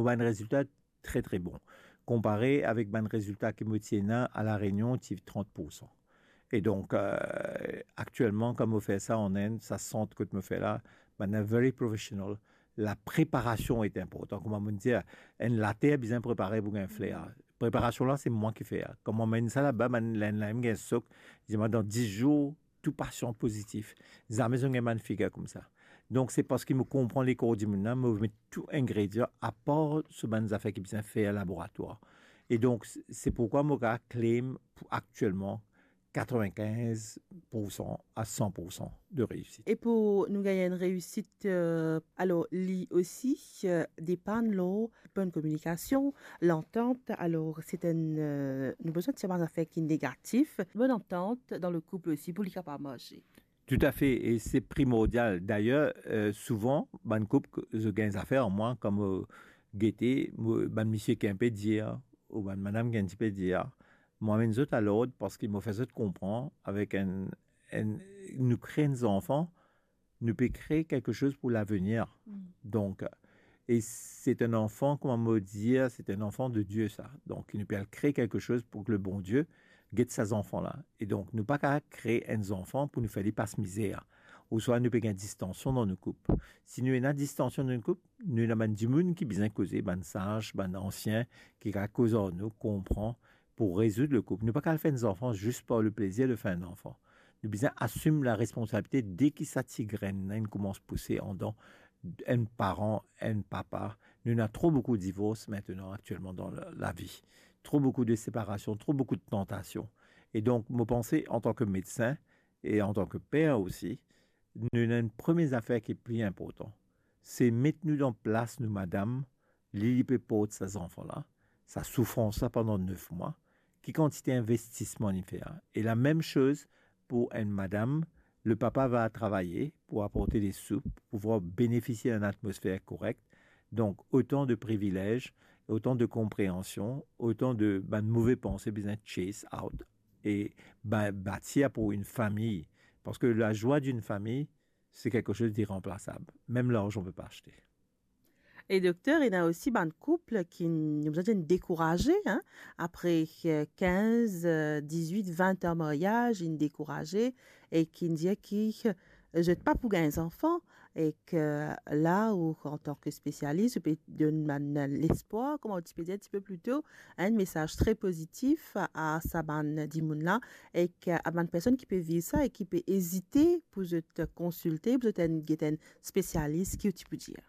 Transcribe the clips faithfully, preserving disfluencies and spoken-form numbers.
Mo bann rezilta tre, tre bon. Konpare avek bann rezilta ki mo ti ena a La Rényon, ti trant poursan. E donk, euh, aktielman, kan mo fer sa an Inn, sa sant kot mo fer la, bann la very professional. La preparasion ete inportan. Kouma mo dir, enn later bizin prepare pou gagn fler. Preparasion la, se mwa ki fer. Kan mo amenn sa laba, bann, enn la, enn gagn sok, li dir mwa, dan dis zour, tou pasion pozitif. Zame zot gagn bann figir koumsa. Donk, se parski mo konpran lekor dimoun la, mo met tou ingredian, apar so bann zafer ki bizin fer laboratwar. E donk, se, se pourkwa mo kapav claim pou aktielman katrevinkinz poursan a san poursan de reisit. E pou nou gagn enn reisit, euh, alor, li osi, euh, depann lor bonn kominikasion, lantant. Alor, se enn, euh, nou bizin tir bann zafer ki negatif, bonn antant dan le koup osi pou li kapav marse. Toutafe, e se primordial. Dayer, euh, souvan, bann koup, zot gagn zafer, mwa, kan mo gete, mo, bann misie ki enpe dir, ou bann madam ki enn tipe dir, mo amenn zot a lord parski mo fer zot konpran avek enn, enn, nou kre enn zanfan, nou pe kre kelke soz pou lavenir. Mm. Donk, e se enn anfan, kouma mo dir, se enn anfan de Die sa. Donk, nou pe al kre kelke soz pou ki le Bondie get sa zanfan la. E donk, nou pa kapav kre enn zanfan pou nou fer li pas mizer. Ouswa nou pe gagn distansion dan nou koup. Si nou ena distansion dan nou koup, nou ena bann dimoun ki bizin koze, bann saz, bann ansien, ki kapav koz ar nou, konpran, pou rezoud le koup. Nou pa kapav fer enn zanfan zis par le plezir de fer enn zanfan. Nou bizin asim la responsabilite de ki sa ti grenn la inn koumans pouse andan enn paran, enn papa. Nou ena tro boukou divors aster aktielman dan la, lavi. Tro boukou de separasion, tro boukou de tantasion. E donk, mo panse, antan ki medsin e antan ki per osi, nou ena enn premie zafer ki pli inportan. Se met nou dan plas nou madam, li, li pe port sa zanfan la, sa soufrans la pandan nef mwa, ki kantite investisman li fer. E la mem soz pou enn madam, le papa va travay pou aport de sou, pou pouvwar benefisie enn atmosfer korek. Donk, otan de privilez, otan de konpreansion, otan de bann move panse bizin chase out e ba-, batir pou enn fami. Parski lazwa enn fami, se kelke soz iranplasab. Mem larzan pe pa aste. E dokter, ena osi bann koup ki, nou bizin dir, dekouraze, hein, apre, euh, kinz, euh, dizwit, vin an maryaz, inn dekouraze e ki dir ki, euh, zot pa pou gagn zanfan, e ki la ou, antan ki spesialis, ou pe donn bann lespwar, kouma ou ti pe dir enn tipe pli to, enn mesaz tre pozitif a sa bann dimoun la, e ki a bann personn ki pe viv sa e ki pe ezite pou zot konsilte, pou zot enn, get enn spesialis, ki ou ti pou dir?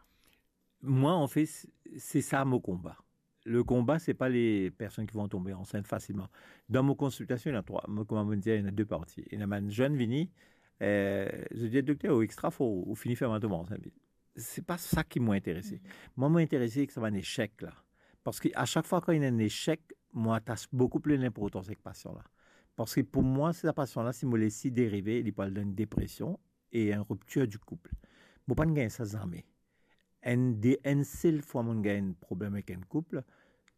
Mwa, anfet, se sa mo konba. Le konba, se pa le personn ki vont tonbe ansint fasilman. Dan mo konsiltasion, ena trwa. Mo, kouma mo dir, ena de parti. Ena bann zenn vini, euh, zot dir, "Dokter, ou extra for, ou fini fer mwa tonbe ansint." Se pa sa ki mo interese. Mwa, mo interese ek sa bann esek la. Parski a sak fwa kan ena enn esek, mo atas boukou pli linportans ek pasian la. Parski pou mwa, sa pasian la, si mo les li derive, li pou al dan enn depresion e enn riptir di koup. Mo pa'nn gagn sa zame. Enn de, enn sel fwa mo'nn gagn enn problem ek enn koup,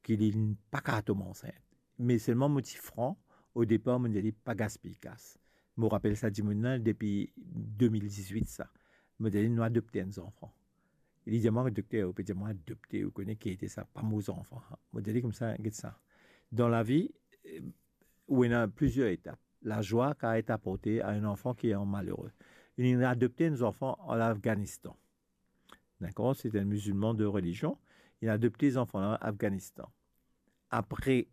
ki li pa kapav tonbe ansint. Me selman mo ti fran, o depar mo'nn dir li pa gaspiy kas. Mo rapel sa dimoun la depi de mil dizwit sa. Mo dir li, "Nou adopte enn zanfan." Li dir mwa, "Dokter, ou pe dir mwa adopte, ou kone ki ete sa, pa mo zanfan." Mo dir li koumsa, "Get sa. Dan lavi, eh, ou ena plizier etap. Lazwa kapav et aporte a enn zanfan ki an malere." Li adopte enn zanfan an Afganistan. Dakor? Se enn mizilman de relizion. Li adopte zanfan la Afganistan. Apre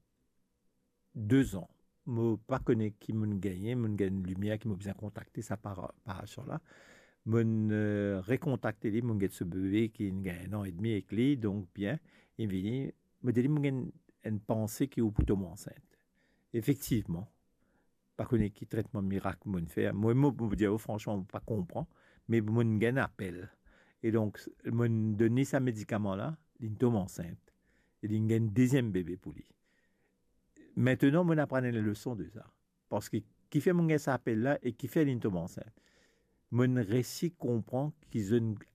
de zan, mo pa kone ki mo'nn gagne, mo'nn gagn limier ki mo bizin kontakte sa par-, parasyon la. Mo'nn, euh, rekontakte li, mo'nn get so bebe ki inn gagn enn an edmi ek li, donk bien, li vini, mo dir li, "Mo gagn enn panse ki ou pou tom ansint." Efektivman, pa kone ki tretman mirak mo'nn fer. Mo, mo, mo dir ou fransman, mo pa konpran, me mo'nn gagn apel. E donk, mo'nn donn li sa medikaman la, li'nn tom ansint. E li'nn gagn deziem bebe pou li. Aster, mo'nn aprann enn leson de sa. Parski kifer mo'nn gagn sa apel la e kifer li'nn tom ansint. Mo'nn resi konpran ki zot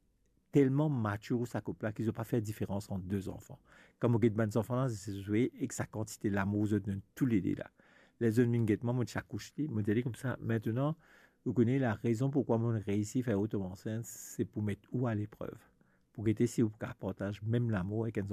telman matir sa koup la ki zot pa fer diferans ant de zanfan. Kan mo get bann zanfan la, zot zwe ek sa kantite lamour zot donn toulede la. Ler zot vinn get mwa, mo ti akous li, mo dir li koumsa, "Aster, ou kone larezon poukwa mo'nn reisi fer ou tom ansint, se pou met ou a leprev. Pou gete si ou kapav partaz mem lamour ek enn